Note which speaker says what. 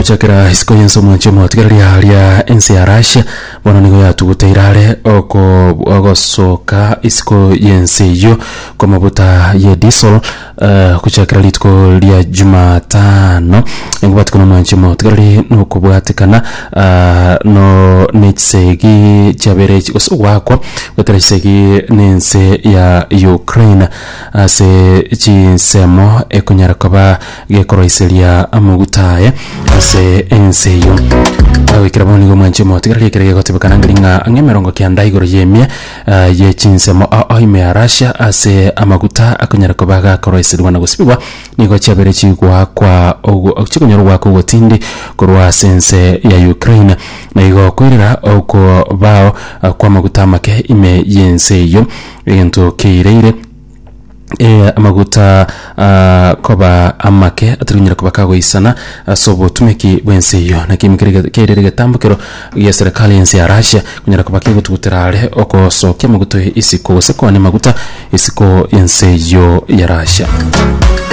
Speaker 1: Gochakera isiko y'ense omwanchi omotigereria aria ense ya Russia bono nigo yatuguteire are oko ogosoka isiko y'ense eyio kw'amaguta ye diesel eh, gochakera rituko ria Jumatano engobwatikana omwanchi omotigereri nokobwatikana ah, no nechisegi chiabere gose ogwakwa goetera chisegi nense ya Ukraine ase chinsemo ekonyara koba gekoroiseria amaguta aye ase ense eyio. Goikera bono nigo omwanchi omotigereri ekere gegotebekana ngeri ng'a ang'e emerongo kianda igoro y'emia eh, ye chinsemo ao ime ya Russia ase amaguta akonyara koba gakoroiserigwa na gosibigwa nigo chiabere chigoakwa ogo chikonyora ogoakwa ogotindi korwa ase ense ya Ukraine. Na igo koirera okobao kw'amaguta amake ime y'ense eyio egento keireire. Eh, amaguta ah, koba amake atari konyara koba kagoisana ase obotumeki bw'ense eyio. Naki ime kere kerire egetambokero gia serikali y'ense ya Russia konyara koba kegotugutera are ogosokia amaguta isiko gose koania amaguta isiko y'ense eyio ya Russia.